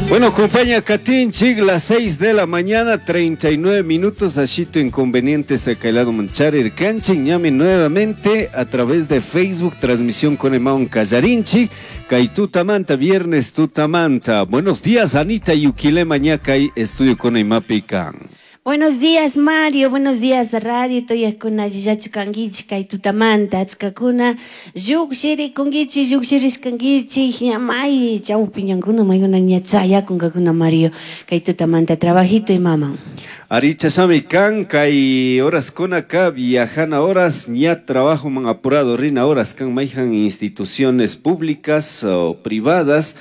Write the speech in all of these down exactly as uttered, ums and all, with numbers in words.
Bueno, compañía Katinchik, las seis de la mañana, treinta y nueve minutos, ashito inconvenientes de Kailado Manchar, Irkanchik, ñami nuevamente a través de Facebook, transmisión con Emaun Kallarinchik, Kay Tutamanta, viernes Tutamanta. Buenos días, Anita Yuquilema, ñakay, estudio con Emapican. Buenos días, Mario. Buenos días, radio. Toyakuna, Jijachukangichi, kay tutamanta, achkakuna, lluqshirikunkichi, lluqshirishkankichi, ñamay, chawpiñankuna, maykuna ña chayakunkakuna, Mario, kay tutamanta, trabajito y maman. Aricha sami kan, kay horas kunaka, viajana horas, ña trabajo man apurado, rina horas, kan mayhan instituciones públicas o privadas,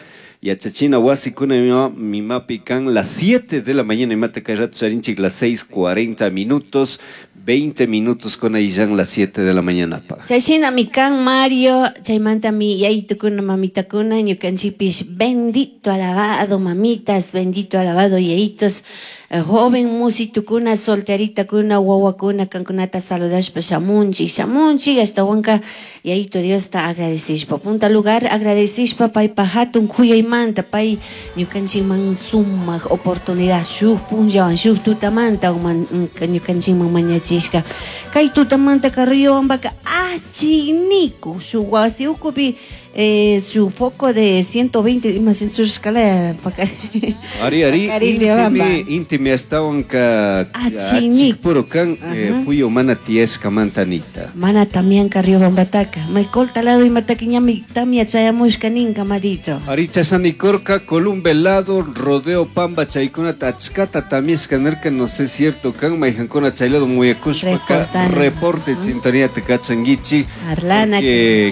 Yachachina wasikuna mi mapi kan las siete de la mañana y mata kay rato charinchik las seis cuarenta minutos, veinte minutos con ahí ya las siete de la mañana pa. Chayshina mi kan Mario, chaymanta mi yaytukuna mamitakuna ñukanchikpish bendito alabado mamitas, bendito alabado yayitos, joven musitukuna, solteritakuna, wawakuna, kankunata saludashpa shamunchik, shamunchik, ashtawanka yayito Diosta agradecishpa. Punta lugar agradecishpa paypa hatun kuyaymanta, pay ñukanchikman sumaq oportunidad shuk punllawan shuk tutamanta ñukanchikman mañachishka. Kay tutamanta Riobambaka achiniku shuk wasi ukupi eh, su foco de ciento veinte más en su escala Ari ari intimi intimi ashtawanka achikpuro kan fuyo mana tiyashka mantanita mana también ka Riobambataka Michael talado y mataka ñami tamia chayamushka ninka marito Ari chasanikorka Columbelado Rodeo Pamba chaykunata achkata tamiashka nirka no sé cierto kan mayhankuna chaylado muyakushpaka reporte sintonía te kachanguichi Arlana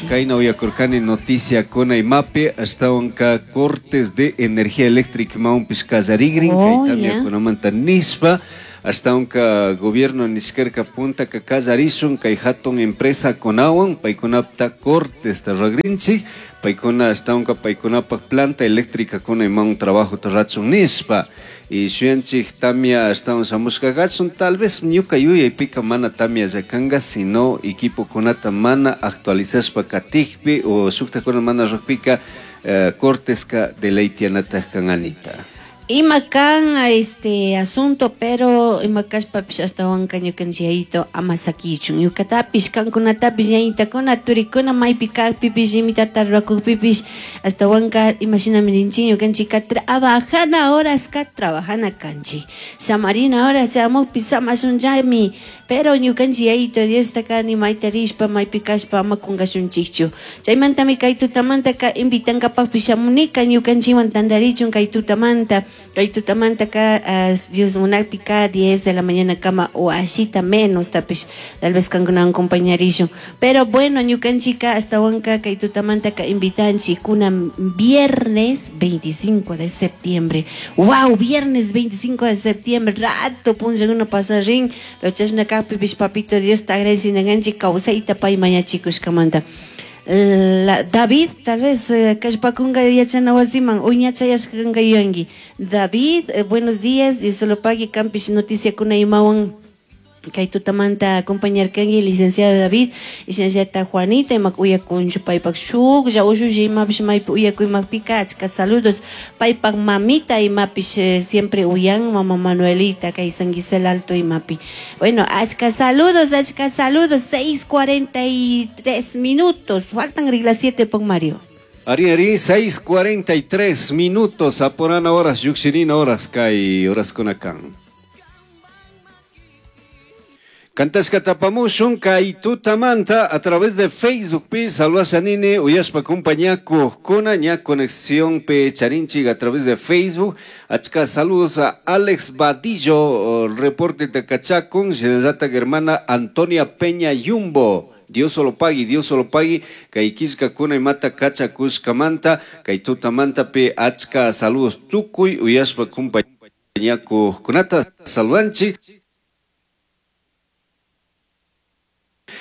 kayna uyakurkani noticia con Aymape hasta onca cortes de energía eléctrica maunpis kallarigrin oh, kay tamia kunamanta nispa hasta onca gobierno niskerka punta ka kallarishun kay hatun empresa kunawan paykunapta cortes tarragrinchik paykuna hasta onca paykunapaq planta eléctrica con un trabajo tarrachun nispa y shuyanchik tamia hasta un shamushka kachun tal vez ñuka yuyaypika mana tamia llakanga sino equipo kunata mana actualizashpa katikpi o shuktakuna mana rukpika eh, corteska de ley tianataq kan Anita. Ima kan este asunto, pero ima kashpapish ashtawanka ñukanchik yayito ama sakichun ñukatapish kankunatapish ñañitakuna turikuna maypi kajpipish imitata rurakukpipish ashtawanka imashinami rinchik ñukanchikka trabajana horaska trabajana kanchik samarina hora chamukpi samashunllami pero ñukanchik yayito Diostaka ni mayta rishpa maypi kashpa ama kunkashunchikchu chaymantami kay tutamantaka invitankapakpish shamunika ñukanchikwan tantarichun kay tutamanta. Kay tutamanta ka uh, Dios munakpi ka diez de la mañana kama o ashita menos tapish tal vez kankunawan acompañarishun pero bueno ñukanchika ashtawanka kay tutamanta ka invitanchik kuna viernes veinticinco de septiembre. Wow, viernes veinticinco de septiembre rato punllakuna pasarin pero chashna kajpipish papito Dios ta agradecinakanchik kawsayta pay mañachikushkamanta. La, David, tal vez, kallpakunka yachana wasiman, uñachayashkanka yuyanki. David, eh, buenos días, y solo pague kampish noticia kuna imawan kay tutamanta acompañarkanki licenciado David, y shinallata Juanita, imak uyakunchu paypak shuklla ushulla imapish maypi uyakuymakpika achka saludos paypak mamita imapish eh, siempre uyan mama Manuelita kay San Gisel Alto imapi. Bueno, achka saludos, achka saludos, seis cuarenta y tres minutos, faltan las siete pon Mario. Ari ari, seis cuarenta y tres minutos, aporana horas, yuxirina horas, kay horas kunakan. Cantashka tapamushun kay tutamanta a través de Facebook pi saludasanini uyashpa compañakuqkuna ña conexión pe charinchik a través de Facebook achka saludos a Alex Vadillo reporte de Cachacun shinallata hermana Antonia Peña Yumbo. Dios solo pagui, Dios solo pagui, kay killkakuna imata kachakushkamanta kay tutamanta pe achka saludos tukuy uyashpa compañakuqkunata saludanchik.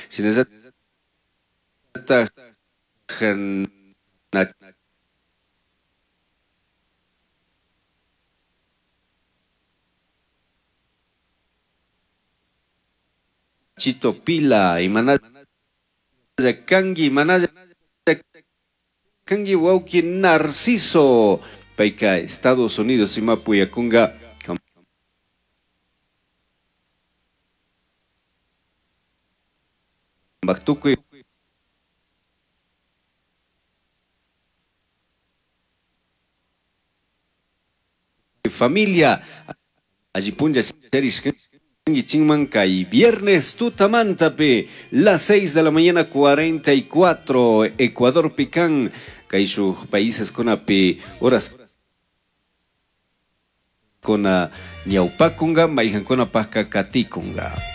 Shinallata Chito Pila, imanalla kangi, imanalla kangi wawki Narciso. Payka Estados Unidos imapuyakunga tukuy familia alli punlla charishkankichikman kay viernes tutamantapi las seis de la mañana cuarenta y cuatro Ecuador pican kay shuk países kunapi horas kuna ñawpakunga mayhankunapajka katikunga.